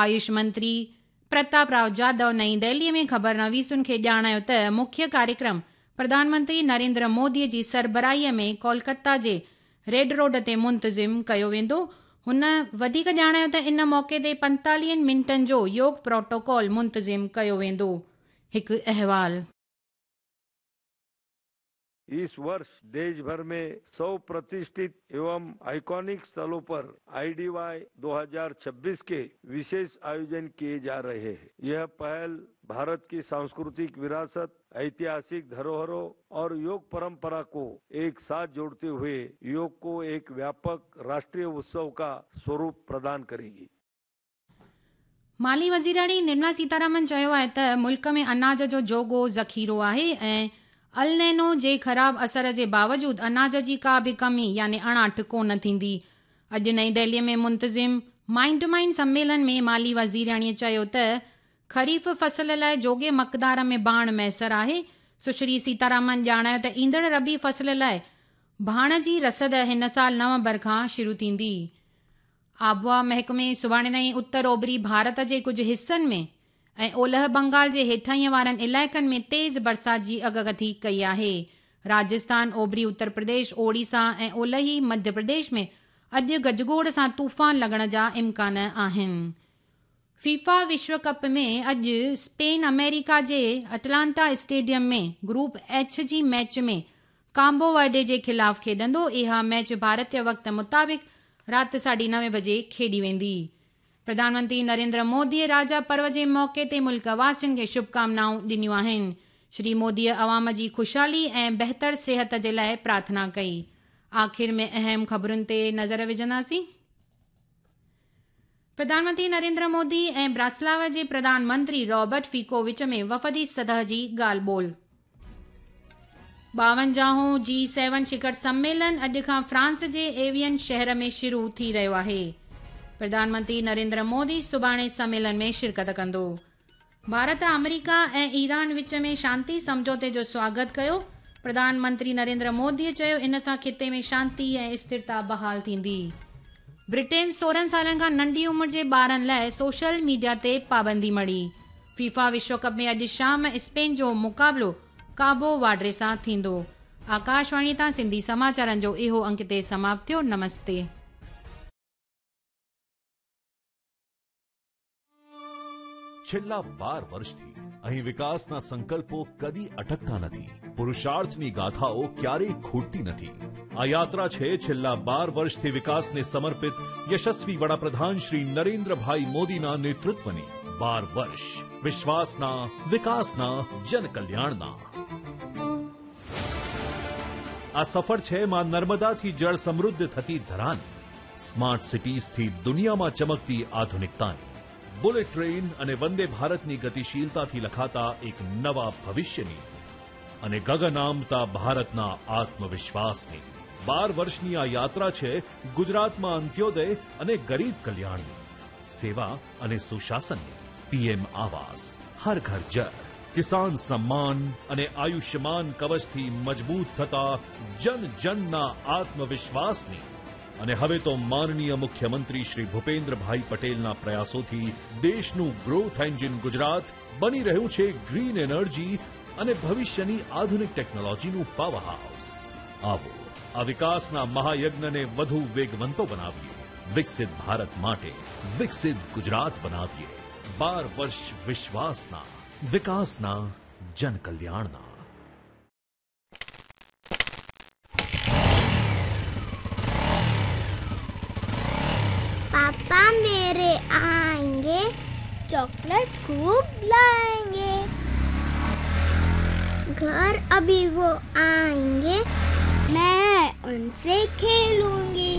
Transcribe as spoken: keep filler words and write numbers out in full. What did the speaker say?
آيوش منتري پرتاپ رائو جادو نئين دهليءَ ۾ خبرنويسن کي ڄاڻايو ته مکيه ڪاريڪرم پرڌان منتري نريندر موديءَ جي سربراهيءَ ۾ ڪولڪتا جي ريڊ روڊ تي منتظم ڪيو ويندو. هن وڌيڪ ڄاڻايو ته ان موقعي تي پنجيتاليهه منٽن جو يوگ پروٽوڪول منتظم ڪيو ويندو. هڪ احوال. इस वर्ष देश भर में सौ प्रतिष्ठित एवं आइकॉनिक स्थलों पर आईडीवाई दो हज़ार छब्बीस के विशेष आयोजन किए जा रहे हैं। यह पहल भारत की सांस्कृतिक विरासत, ऐतिहासिक धरोहरों और योग परंपरा को एक साथ जोड़ते हुए योग को एक व्यापक राष्ट्रीय उत्सव का स्वरूप प्रदान करेगी। माली वज़ीराणी निर्मला सीतारामन चयो आहे त मुल्क में अनाज जो जोॻो ज़ख़ीरो आहे ऐं अल नीनो जे ख़राब असर जे बावजूद अनाज जी का बि कमी यानी अणाठ कोन थींदी। अॼु नई दिल्लीअ में मुंतज़िम माइंड माइंड सम्मेलन में माली वज़ीराणीअ चयो त ख़रीफ़ फ़सल लाइ जोॻे मक़दार में भाण मयसर आहे। सुश्री सीतारामन ॼाणायो त ईंदड़ रबी फ़सल लाइ भाण जी रसद हिन साल नवंबर खां शुरू थींदी। आबहवा महकमे सुभाणे ताईं उत्तर ओभरी भारत जे कुझु हिसनि में ऐं ओलह बंगाल जे हेठाईं वारनि इलाइक़नि में तेज़ बरसाति जी अॻकथी कई आहे। राजस्थान, ओभरी उत्तर प्रदेश, ओडिशा ऐं ओलही मध्य प्रदेश में अॼु गजगोड़ सां तूफ़ान लॻण जा इम्कान आहिनि। फीफा विश्व कप में अॼु स्पेन अमेरिका जे अटलांटा स्टेडियम में ग्रुप एच जी मैच में काम्बो वर्डे जे ख़िलाफ़ खेॾंदो। इहा मैच भारतीय वक़्त मुताबिक़ राति साढे नवे बजे खेॾी वेंदी। प्रधानमंत्री नरेंद्र मोदीअ राजा पर्व जे मौक़े ते मुल्क वासियुनि खे शुभकामनाऊं ॾिनियूं आहिनि। श्री मोदीअ अवाम जी ख़ुशहाली ऐं बहितर सिहत जे लाइ प्रार्थना कई। आख़िर में अहम ख़बरुनि ते नज़र विझंदासीं। प्रधानमंत्री नरेंद्र मोदी ऐं ब्रातिस्लावा जे प्रधानमंत्री रॉबर्ट फीको विच में वफ़दी सतह जी ॻाल्हि ॿोल। ॿावंजाहों जी सेवन शिखर सम्मेलन अॼु खां फ्रांस जे एवियन शहर में शुरू थी रहियो आहे। प्रधानमंत्री नरेंद्र मोदी सुभाणे सम्मेलन में शिरकत कंदो। भारत अमेरिका ऐं ईरान विच में शांति सम्झौते जो स्वागत कयो। प्रधानमंत्री नरेंद्र मोदीअ चयो इन सां ख़िते में शांति ऐं स्थिरता बहाल थींदी। ब्रिटेन सोरहं सालनि खां नंढी उमिरि जे ॿारनि लाइ सोशल मीडिया ते पाबंदी मढ़ी। फीफा विश्व कप में अॼु शाम स्पेन जो मुक़ाबिलो काबो वार्डे सां थींदो। आकाशवाणी तां सिंधी समाचारनि जो इहो अंक ते समाप्त थियो। नमस्ते। છેલ્લા બાર વર્ષથી અહીં વિકાસના સંકલ્પો કદી અટકતા નથી, પુરુષાર્થની ગાથાઓ ક્યારેય ખૂટતી નથી. આ યાત્રા છે છેલ્લા બાર વર્ષથી વિકાસને સમર્પિત યશસ્વી વડાપ્રધાન શ્રી નરેન્દ્રભાઈ મોદીના નેતૃત્વની. બાર વર્ષ વિશ્વાસના, વિકાસના, જનકલ્યાણના. આ સફર છે માં નર્મદાથી જળ સમૃદ્ધ થતી ધરાની, સ્માર્ટ સિટીઝથી દુનિયામાં ચમકતી આધુનિકતાની, બુલેટ ટ્રેન અને વંદે ભારતની ગતિશીલતાથી લખાતા એક નવા ભવિષ્યની અને ગગનામતા ભારતના આત્મવિશ્વાસની. બાર વર્ષની આ યાત્રા છે ગુજરાતમાં અંત્યોદય અને ગરીબ કલ્યાણની, સેવા અને સુશાસનની. પીએમ આવાસ, હર ઘર જળ, કિસાન સન્માન અને આયુષ્યમાન કવચથી મજબૂત થતા જન જનના આત્મવિશ્વાસની. અને હવે તો માનનીય મુખ્યમંત્રી શ્રી ભૂપેન્દ્રભાઈ પટેલના પ્રયાસોથી દેશનું ગ્રોથ એન્જિન ગુજરાત બની રહ્યું છે ગ્રીન એનર્જી અને ભવિષ્યની આધુનિક ટેકનોલોજીનું પાવર હાઉસ. આવો આ વિકાસના મહાયજ્ઞને વધુ વેગવંતો બનાવીએ. વિકસિત ભારત માટે વિકસિત ગુજરાત બનાવીએ. બાર વર્ષ વિશ્વાસના, વિકાસના, જનકલ્યાણના. पापा मेरे आएंगे, चॉकलेट खूब लाएंगे। घर अभी वो आएंगे, मैं उनसे खेलूंगी।